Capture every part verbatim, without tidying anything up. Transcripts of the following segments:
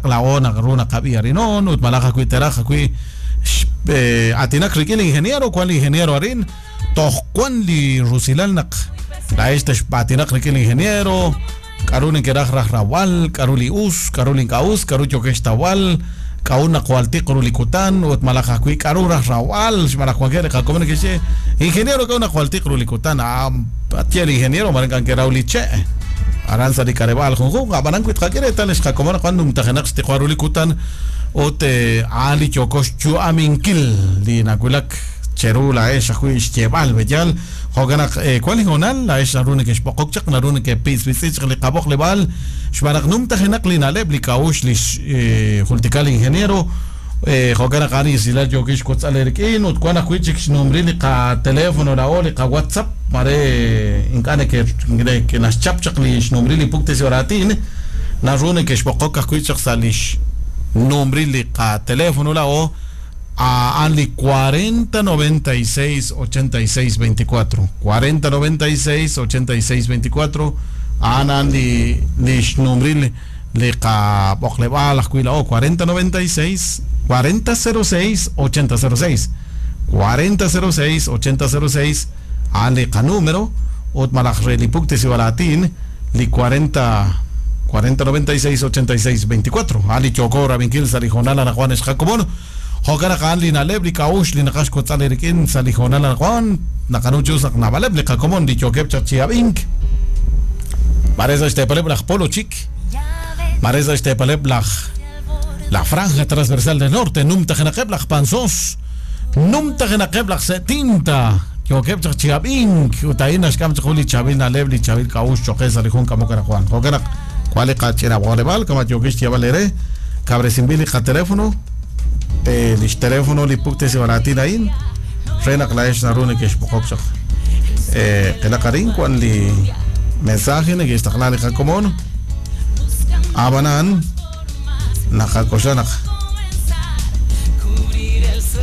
chaq laa'o naq ru naqab'i arinon ut malaj ajwi' teraj ajwi' aatinak rik'in li ingeniero wan li ingeniero arin toj wan li rusilal naq laa'ex texb'aatinaq rik'in li ingeniero k'aru nekeraj raj rawal k'aru li us k'aru li ink'a' us k'aru yokex tawal k'aru naq jwal tiq ru li kutan ut malaj ajwi' k'aru raj rawal xmalaj wankeb' li qakomon neke'xye ingeniero k'aru naq jwal tiq ru li kutan atye li ingeniero mare k'ankeraw li che' aran sa' li k'areb'aal junjunq ab'anan wi tqak'e reetal xqakomon naq wan numtajenaq xtiqwa ru li kutan ut a'an li yoko xyu'aminkil li nawulak cheru laa'ex ajwi' xyeeb'al b'eyal jo'kan naq wan li hoonal laa'ex naru neke'xb'oqok chaq naru neke'pitz'pitz'i chaq li qab'oqleb'aal xb'aan naq numtajenaq li na'leb' li k'a'uxl li xjultika li ingeniero jo'kan naq a'an isilal yookix xkotz'al rik'in ut wan ajwi' chik xnumri li qateléfono laa'o li qaWhatsApp mare ink'a' neke naxchap chaq li xnumri li puktesi oraatin naru neke'xb'oqok ajwi' chaq sa' li xnumri li qateléfono laa'o a'an li cuarenta noventa y seis ochenta y seis veinticuatro cuarenta noventa y seis ochenta y seis veinticuatro a'an a'an li li xnumri li qab'oqleb'aal ajwi' laa'o cuarenta noventa y seis cuarenta cero seis ochenta cero seis cuarenta cero seis ochenta cero seis a'an li qanúmero ut malaj re li puktesi balatin li cuarenta cuarenta noventa y seis ochenta y seis veinticuatro a'an li yoko rabinkil sa' li jonal anaqwan xqakomon jo'kan naq a'an li na'leb' li k'a'uxl li naqax kotz'al rik'in sa' li jonal anaqwan naqanu chus naq nab'aleb' li qakomon li yookeb' chaq chi ab'ink mare sa' xteepaleb' laj Polo Chik mare sa' xteepaleb' laj la franja transversal del norte numtajenaqeb' laj Panzós numtajenaqeb' laj Setinta yookeb' chaq chi ab'ink ut a'in naxk'am chaq jun li chaab'il na'leb' li chaab'il k'a'uxl choqe sa' li jun k'amok anaqwan jo'kan naq wan li qach'inab'oqleb'aal kama yookix xyeeb'al eere kab'resinb'il li qateléfono li xteléfono li puktesi baratin a'in re naq laa'ex naru neke'xb'oqok chaq qilaq arin wan li mensaje neke'xtaqla li qakomon ab'anan naqak'oxla naq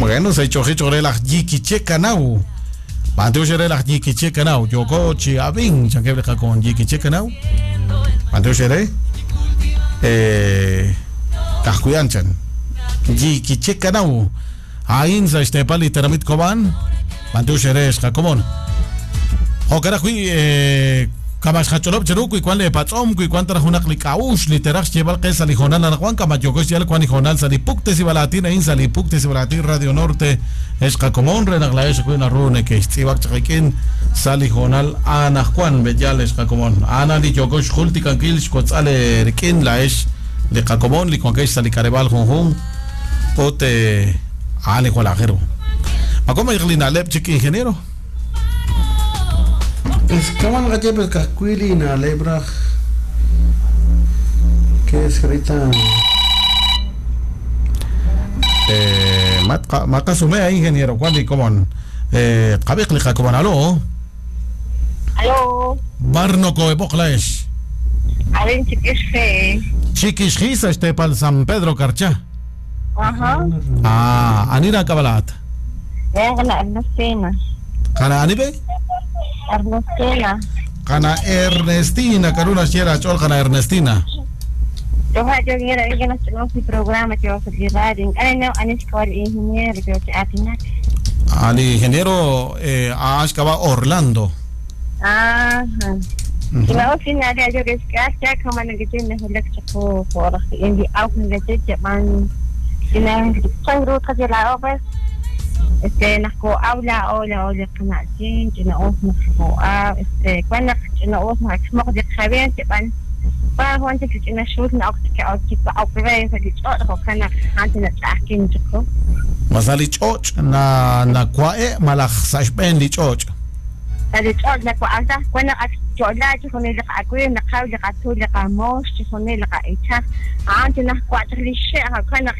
bueno sa' chojicho re laj Yikiche Kanaw b'antiox re laj Yikiche Kanaw yoko chi ab'in chankeb' li qakomon Yikiche Kanaw b'antiox re kajkuyan chan Yikiche Kanaw a'in sa' xteepal li teramit Cobán b'antiox re xqakomon jo'kan ajwi' kama xqach'olob' cheru wi wan li patz'om wi wan taraj junaq li k'a'uxl li teraj xyeeb'al qe sa' li jonal anaqwan kama yoko xyal wan li jonal sa' li puktesi balatin a'in sa' li puktesi balatin Radio Norte xqakomon re naq laa'ex ajwi' naru neke'xtz'iib'ak chaq rik'in sa' li jonal anaqwan b'eyal xqakomon a'an li yoko xjultikankil xkotz'al rik'in laa'ex li qakomon li wankex sa' li k'areb'aal junjun ut a'an li jwal ajero ma li na'leb' chik ingeniero Es kaman qachep el kajkuili na'leb' raj que es ahorita eh ma qasumea ingeniero wan li komon eh qab'iq li qakomon alo alo barno koeb'oq laa'ex arin Chiquixji Chiquixji sa' xteepal San Pedro Carchá. Ajá. Ah, anira kabalat. Qana Ernestina. Qana anibe? Ernestina. Qana Ernestina, karuna xyera ch'ol qana Ernestina. Yo yo quiero que nos tenemos mi programa que va a salir radio. Ay no, anishka el ingeniero que atinak. Al ingeniero eh ashkaba Orlando. Ajá. Kima osin ari ayo que ska kama nagiten hulak chako por indi au nagiten man ina changro kajela obes este nako aula ola ola qana'chin ch'ina'us nako a este cuando ch'ina'us nako de khaben ban pa juan chik ch'ina shul na ok ok pa ok sa lich'o kana ante na ch'akin chako masa lich'och na na kwae malaj sa xb'een lich'och sa lich'och na kwa'asa cuando chola chijunil liqa'akuy naqaw liqatul liqamox chijunil liqa'ichaj ante naj kwa'chaj lixe' kana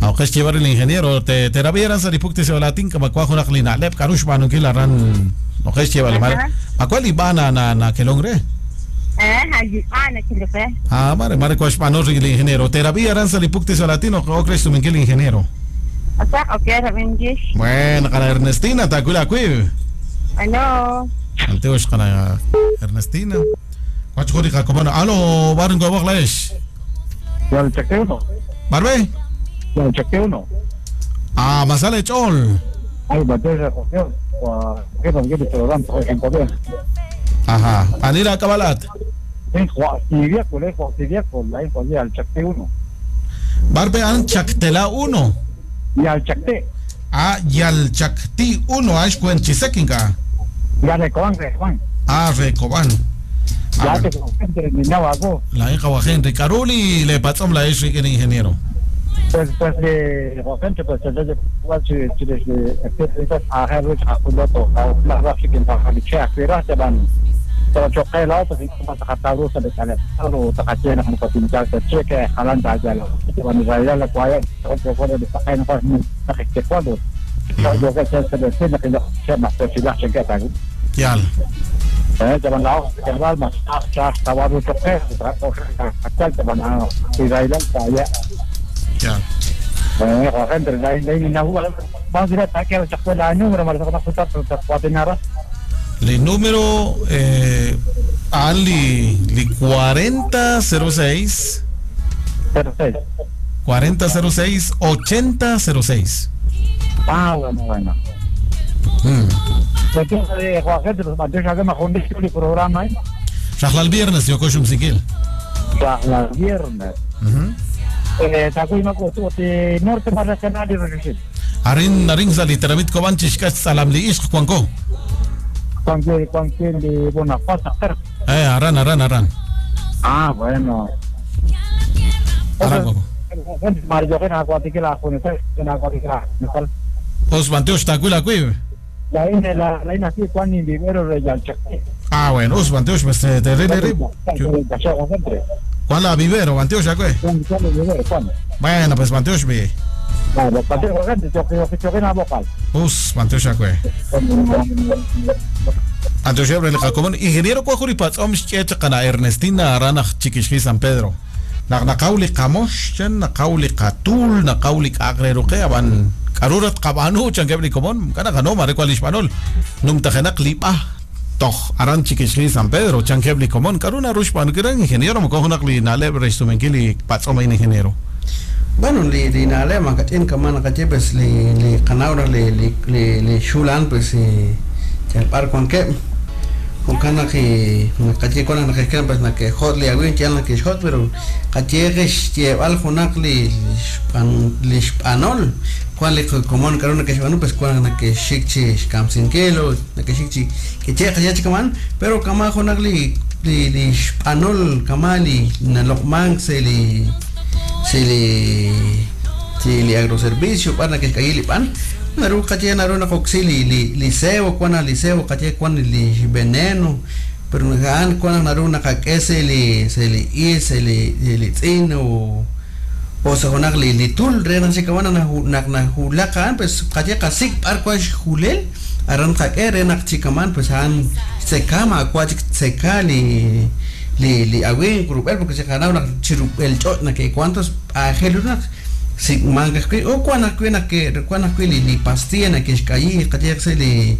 Aunque es llevar el ingeniero te terapia sa lipukti sa latin kama kwa junaq li na'leb' k'aru xb'aanunkil aran oqex llevar ma cuál ibana na na kelongre eh ibana kilipe ah mare mare kwa xb'aanu el ingeniero terapia sa lipukti sa latin o okrex tuminkil ingeniero o sea okay rabingish bueno qana Ernestina takula kuy ano anteox qana Ernestina Wachjuri qakomona. Alo, barngo boqlaesh. Yalchakte uno. Barbe? Yalchakte uno. Ah, masale chol. Ay, batalla con Ajá, Anira Cabalat. Barbe an Chactela uno. Yalchacte. Ah, Yalchacti uno, Ashkuen Chisekinga. Ya Recoban, Recoban. Ah, Recoban. Ya te La hija Henry Caruli le patzom la es el ingeniero. Pues pues de repente pues desde igual si si desde a ver a cuando a la raza que en la licha que era se van pero choque la pues como se cataro se le sale lo tacache no patintar se cheque jalan ya lo que van a ir a la cual otro fuera de sacar no no que cuando yo que se se le que no se más se la cheque ya eh te van la que va más hasta hasta va a choque hasta te van a ir a ya. Ya. El número eh ali li cuarenta cero seis cuarenta cero seis ochenta cero seis. Ah, bueno, bueno. Mm. El viernes yo cojo un siquil. El viernes. Uh-huh. Eh, norte más nacional y regresé. Arin arin saliteramit cobanchis salam li ishq cuanco. Cuanque cuanque de Bonaparte. Eh, aran aran aran. Ah, bueno. Aran cuanco. Os banteos tacuila cuib. La ina la la ina sí cuan ni vivero de Yalchacte. Ah, bueno, os banteos pues te re re. ¿Cuál la vivero, Banteos, ya qué? Bueno, pues Banteos, ve. Us, Banteos, ya qué. Anteos, ya le jacobón. Ingeniero Cuajuripatzom, Chechacana Ernestina Arana Chiquishki San Pedro. Naqauli Kamosh, Naqauli Katul, Naqauli Agreruque, Aban Karurat Kabanu, Chanquebli Comón, Canaganoma, Marecual Hispanol, Numtajenak Lipa. Toch, aran Chiquishki San Pedro, Chanquebli Comón, Karuna Rushpan, gran ingeniero, mocojonakli naleb restumenkili patzoma ingeniero. Bueno, li li naleb makachin kaman kache pues li li kanaura li li li li shulan pues chalpar con que con kana que kache con na que pues na que hot li agüin chan na que hot pero kache que lleval jonakli pan li panol cual le común carona que bueno pues cual na que shikchi kamsinkelo na que shikchi que che que che kaman pero kama jonakli li li panol kamali na lokman se li se li se li agroservicio para que caili pan naru kache naru na coxili li liceo cuana liceo kache cuan li veneno pero han cuan naru na ka se li se li i se li li tzin o o se jonak li li tul re na se kawana na nak na hulakan pues kache kasik par kwa julel aran ka re nak chikaman pues han se kama kwa se kali li li awin grupel porque se ganaba una chirupel chot na que cuántos ajeluna si manga que o cuana que na que cuana que li pastilla na que caí kache se li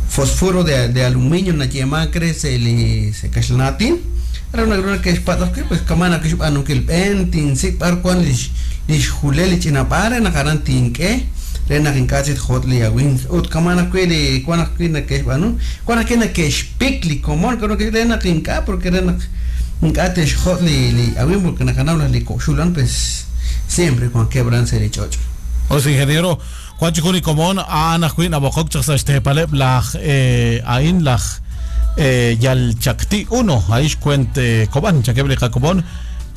fósforo de de aluminio na yema crece li se kashlnatin era una gruna que es patas que pues kamana que anu que el pentin si par cuan li li julel china para na garantin que rena en cachit hot li awin ut kamana que li cuana que na que anu cuana que na que spikli comón creo que rena tinka porque rena en hot li li awin porque na canabla li cochulan pues siempre con quebranse li chocho. O sea, ingeniero Juan Comón ana juin abokok chas paleb laj eh ain laj eh Yalchacti uno ahí cuente coban chaqueble jacobón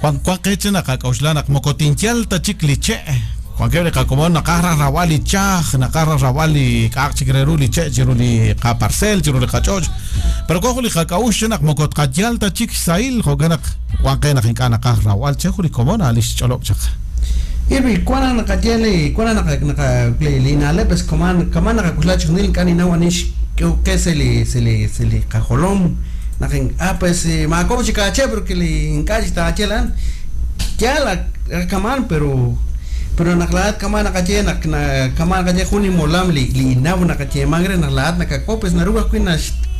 Juan Juan quechen acauxlanak mocotinchial tachikliche Juan queble jacobón nacarra rawali chaj nacarra rawali kachikleruli che chiruli kaparcel chiruli kachoch pero cojuli jacauxenak mocotcayal tachik sail joganak Juan quenak incana carrawal chejuli comón alish cholok chak Irvi cuana nakayele cuana naka li nale pues coman kaman nakakuslach nil kani nawanish que se le se le se le cajolón nakin ah pues ma como chicache porque le encalla chelan ya la kaman pero pero naklaat kaman nakache nak kaman kache juni molam li li naw nakache mangre naklaat nakakopes naruga kuina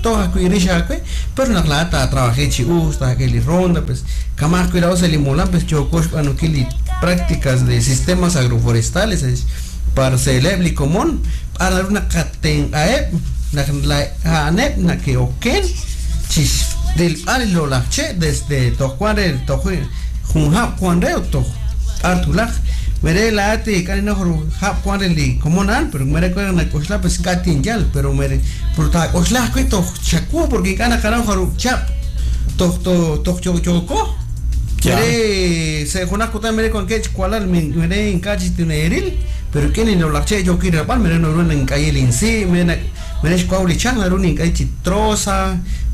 toja ajwi' rix aawe pero naq laa'at taatrabaje chi us taak'e li ronda pues kama ajwi' laa'o sa' li molam pues yooko xb'aanunkil li prácticas de sistemas agroforestales para se'leb' li komon b'ar naru naqatenq'aheb' naq a'aneb' nake'oken chi rilb'al li lo'laj che' desde toj wan re toj jun hab' wan re toj b'ar tulaj mere laa'at k'ani noj hab' wan re li komon a'an pero mere k'o nak'oxla pues k'atin yal pero mere pero taak'oxla ajwi' toj xaku porque ink'a' naqanaw jarub' chab' toj toj yooko mere se junaj kutan mere kuankech kualal mere ink'a' chi tineeril pero k'in li lo'laj che' yookil rilb'al mere naru nink'ayil insi' mere mere xkuaw li chaj naru nink'ay chi troza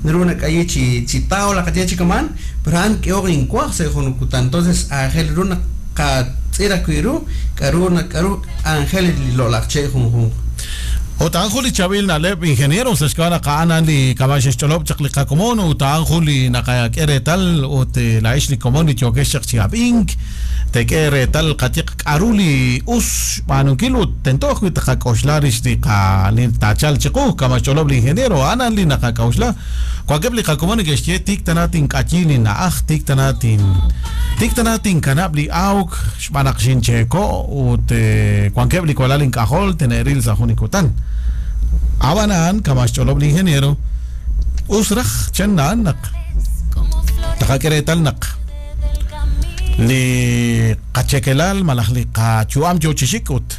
naru nak'ayi chi chi tabla qach'e chi kaman pero a'an k'eoq inkuaj se jun kutan entonces aajel ru naq qatz'ir ajwi' ru k'aru k'aru anjel li lo'laj che' junjunq. Ut a'an jun li chaab'il na'leb' ingeniero sa' xk'ab'a' naq a'an li kama' xexch'olob' chaq li qakomon ut a'an jun li naqak'e reetal ut la'ex li komon li yookex chaq chi ab'ink tek'e reetal qatiq k'aru li us xb'aanunkil ut tento ajwi' taqak'oxla rix li qa li taachal chiqu kama' xch'olob' li ingeniero a'an li naqak'oxla wankeb' li qakomon neke'xye tik tana tink'ayi li na'aj tik tana tin tik tana tinkanab' li awk xb'aan naq xincheeko' ut wankeb' li walal ink'ajol tene'ril sa' jun li kutan. Ab'anan kama' xch'olob' li ingeniero us raj chan na'an naq taqak'e reetal naq li qachekelal malaj li qachu'am yo chi xik ut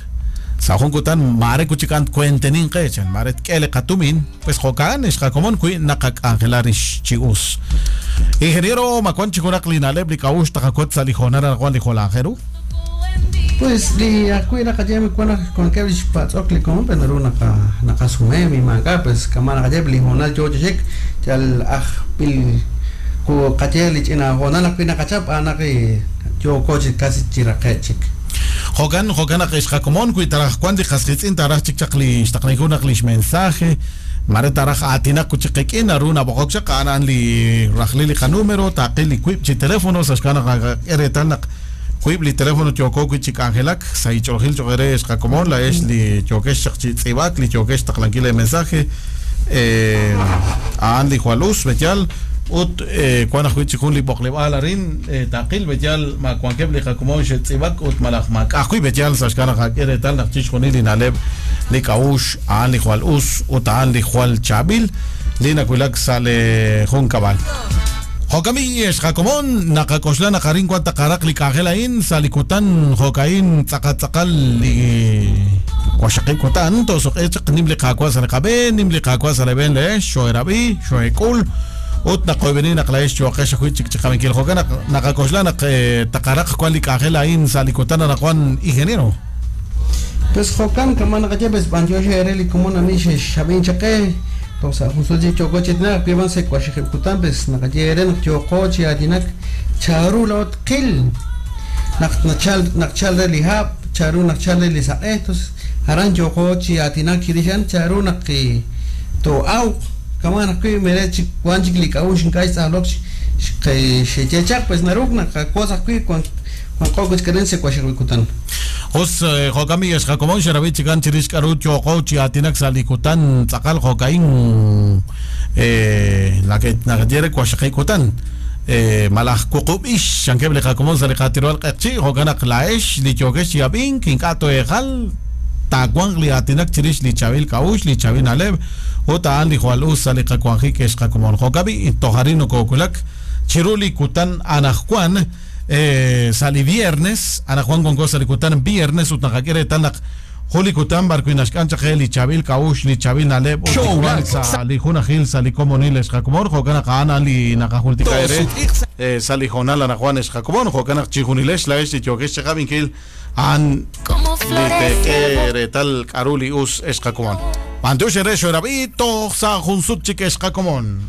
sa' jun kutan mare kuchikan kuentenin qe chan mare tk'e li qatumin pues jo'kan ex qakomon wi' naqak'anjela rix chi us. Ingeniero ma wan chi junaq li na'leb' li k'a'uxl taqakot sa' li jonal anaqwan li jolajero. Pues li ajwi' naqaye wan wankeb' li xpatz'ok li komon pero naru naqa naqasumem imank'a pues kama' naqaye li jonal yo chi xik yal ajpil ku qaye li ch'ina jonal ajwi' naqachap a'an naq yooko chi casi chi raqe' chik. Jo'kan jo'kan naq ex qakomon wi' taraj wan li qasqitz'in taraj chik chaq li xtaqninku naq li xmensaje mare taraj aatinaq chi qik'in naru nab'oqok chaq a'an li rajlil li qanúmero taqil li wiib' chi teléfono sa' xk'ab'a' naq naqak'e reetal naq wiib' li teléfono yooko wi' chi k'anjelak sa' ich'oolil cho'q re ex qakomon la'ex li yookex chaq chi tz'iib'ak li yookex taqlankil li mensaje a'an li jwal us b'eyal ut wan ajwi' chi jun li b'oqleb'aal arin taqil b'eyal ma wankeb' li qakomon xe'tz'iib'ak ut malaj ma k'ajwi' b'eyal sa' xk'ab'a' naq qak'e reetal naq chixjunil li na'leb' li k'a'uxl a'an li jwal us ut a'an li jwal chaab'il li nawulak sa' li jun kab'al. Jo'kami ex qakomon naqak'oxla naq arin wan taqaraq li k'anjel a'in sa' li kutan jo'ka'in tz'aqal tz'aqal li waxaqib' kutan tosoq'e chaq nim li qaawa' sa' li qab'een nim li qaawa' sa' li b'een le'ex xo'erab'i xo'ek'ul ut naqoyb'eni naq la'ex yo'qex ajwi' chik chiqab'inkil jo'kan naq naqak'oxla naq taqaraq wan li k'anjel a'in sa' li kutan anaqwan ingeniero. Pues jo'kan kama' naqaye pues b'antiox ere li komon ani xexab'in chaqe Tosa junso chi choko chitna piban se kuaxijikutan pues naqaye naq yooko chi atinak charu laot qil naq nachal naqchal re li hab' charu naqchal re li saq'e entonces aran yooko chi atinak chirixan charu naq to awq kama' naq wi' mere chik wan chik li k'a'uxl ink'a' xtz'ajlok xechechaq pues naruk naqakos ajwi' wan q'oq keren se kuaxijikutan. Us jo'kami ex qakomon xerab'i chikan chirix k'aru yooko chi atinak sa' li kutan tz'aqal jo'ka'in naqaye re kuaxaqikutan malaj wuqub'ix xankeb' li qakomon sa' li qatirwal q'eqchi' jo'kan naq la'ex li yookex chi ab'ink ink'a' to'eejal taawanq li atinak chirix li chaab'il k'a'uxl li chaab'il na'leb' ut a'an li jwal us sa' li qawanjik ex qakomon jo'kab'i toj arin nokookulak chiru li kutan anajwan sa' li viernes anajwan wanko sa' li kutan viernes ut naqak'e reetal naq jun li kutan b'ar wi' naxk'an chaq li chaab'il k'a'uxl li chaab'il na'leb' ut wan sa' li junajil sa' li komonil ex qakomon jo'kan naq a'an li naqajultika ere sa' li jonal anajwan ex qakomon jo'kan naq chijunilex la'ex li yookex chiqab'inkil a'an li tek'e reetal k'aru li us ex qakomon. B'antiox ere xo'erab'i toj sa' jun sut chik ex qakomon.